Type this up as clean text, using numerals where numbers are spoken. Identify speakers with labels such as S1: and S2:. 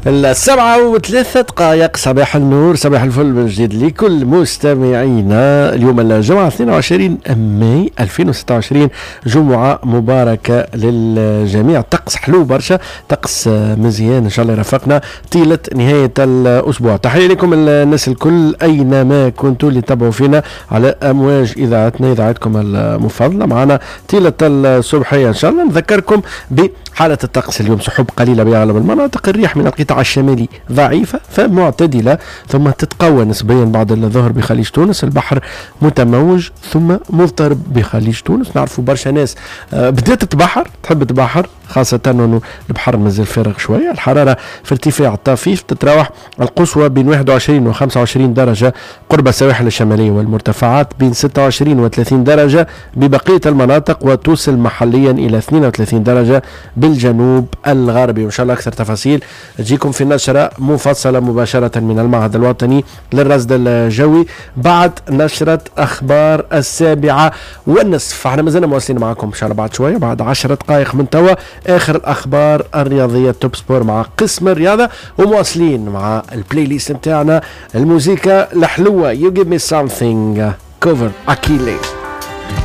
S1: 7:03، صباح النور، صباح الفل من جديد لكل مستمعينا. اليوم الجمعة 22 ماي 2026، جمعة مباركة للجميع. طقس حلو برشا، طقس مزيان، إن شاء الله يرافقنا طيلة نهاية الأسبوع. تحية لكم الناس الكل أينما كنتوا اللي تابعوا فينا على أمواج إذاعتنا، إذاعتكم المفضلة، معنا طيلة الصبحية. إن شاء الله نذكركم بحالة الطقس اليوم: سحب قليلة بأغلب المناطق، الريح من القطاع الشمالي ضعيفة فمعتدلة ثم تتقوى نسبيا بعد الظهر بخليج تونس، البحر متموج ثم مضطرب بخليج تونس. نعرفوا برشا ناس بدأت تبحر، تحب تبحر، خاصة أنه البحر مازال فارغ شوية. الحرارة في ارتفاع طفيف، تتراوح القصوى بين 21 و 25 درجة قرب السواحل الشمالية والمرتفعات، بين 26 و 30 درجة ببقية المناطق، وتوصل محليا إلى 32 درجة بالجنوب الغربي. وإن شاء الله أكثر تفاصيل تجيكم في نشرة مفصلة مباشرة من المعهد الوطني للرصد الجوي بعد نشرة أخبار 7:30. احنا مازلنا مواصلين معكم إن شاء الله بعد شوية، بعد 10 دقائق من توا، آخر الأخبار الرياضية، Top Sport مع قسم الرياضة، ومواصلين مع ال playlist نتاعنا، الموزيكا الحلوة، You Give Me Something cover أكيلي.